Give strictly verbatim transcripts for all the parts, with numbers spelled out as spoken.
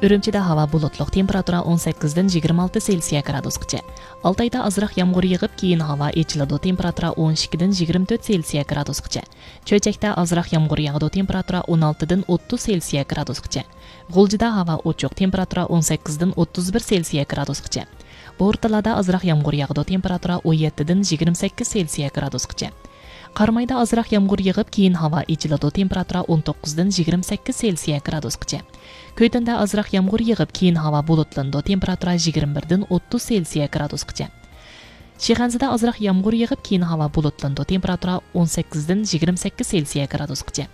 ئۈرۈمچىدە ھاۋا بۇلۇتلۇق، تېمپېراتۇرا ئون سەككىزدىن يىگىرمە ئالتە سېلسىيە گرادۇسقىچە. ئالتايدا ئازراق يامغۇر يېغىپ، كېيىن ھاۋا ئېچىلىدۇ، تېمپېراتۇرا ئون ئىككىدىن يىگىرمە تۆت سېلسىيە گرادۇسقىچە. چۆچەكتە ئازراق يامغۇر ياغىدۇ، تېمپېراتۇرا ئون ئالتىدىن ئوتتۇز سېلسىيە گرادۇسقىچە. غۇلجىدا ھاۋا ئوچۇق، تېمپېراتۇرا ئون سەككىزدىن ئوتتۇز بىر سېلسىيە گرادۇسقىچە. بورتالادا ئازراق يامغۇر ياغىدۇ، تېمپېراتۇرا ئون يەتتىدىن يىگىرمە سەككىز سېلسىيە گرادۇسقىچە. قارامايدا ئازراق يامغۇر يېغىپ، كېيىن ھاۋا ئېچىلىدۇ، تېمپېراتۇرا ئون توققۇزدىن يىگىرمە سەككىز سېلسىيە گرادۇسقىچە. كۆتۈندە ئازراق يامغۇر يېغىپ، كېيىن ھاۋا بۇلۇتلىنىدۇ، تېمپېراتۇرا يىگىرمە بىردىن ئوتتۇز سېلسىيە گرادۇسقىچە. شىخەنزىدە ئازراق يامغۇر يېغىپ، كېيىن ھاۋا بۇلۇتلىنىدۇ، تېمپېراتۇرا ئون سەككىزدىن يىگىرمە سەككىز سېلسىيە گرادۇسقىچە.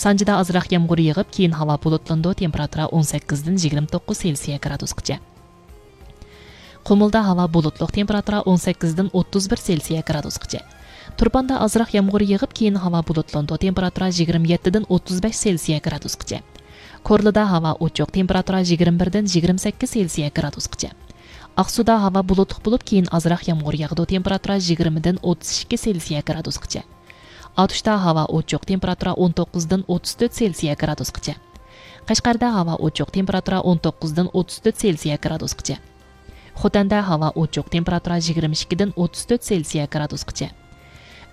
سانجىدا ئازراق يامغۇر يېغىپ، كېيىن ھاۋا بۇلۇتلىنىدۇ، تېمپېراتۇرا ئون سەككىزدىن يىگىرمە توققۇز سېلسىيە گرادۇسقىچە. قۇمۇلدا ھاۋا بۇلۇتلۇق، تېمپېراتۇرا ئون سەككىزدىن ئوتتۇز بىر سېلسىيە گرادۇسقىچە. تۇرپاندا ئازراق يامغۇر يېغىپ، كېيىن ھاۋا بۇلۇتلىنىدۇ، تېمپېراتۇرا يىگىرمە يەتتىدىن ئوتتۇز بەش سېلسىيە گرادۇسقىچە. كورلىدا ھاۋا ئوچۇق، تېمپېراتۇرا يىگىرمە بىردىن يىگىرمە سەككىز سېلسىيە گرادۇسقىچە. ئاقسۇدا ھاۋا بۇلۇتلۇق بولۇپ، كېيىن ئازراق يامغۇر ياغىدۇ، تېمپېراتۇرا يىگىرمىدىن ئوتتۇز ئىككى سېلسىيە گرادۇسقىچە. ئاتۇشتا ھاۋا ئوچۇق، تېمپېراتۇرا ئون توققۇزدىن ئوتتۇز تۆت سېلسىيە گرادۇسقىچە. قەشقەردە ھاۋا ئوچۇق، تېمپېراتۇرا ئون توققۇزدىن ئوتتۇز تۆت سېلسىيە گرادۇسقىچە. خوتەندە ھاۋا ئوچۇق، تېمپېراتۇرا يىگىرمە ئىككىدىن ئوتتۇز تۆت سېلسىيە گرادۇسقىچە.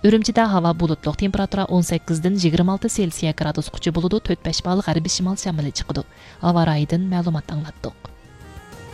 ئۈرۈمچىدە ھاۋا بۇلۇتلۇق، تېمپېراتۇرا ئون سەككىزدىن يىگىرمە ئالتە سېلسىيە گرادۇسقىچە بولىدۇ، تۆت بەش بال غەربىي شىمال شامىلى چىقىدۇ. ھاۋا رايىدىن مەلۇمات ئاڭلاتتۇق.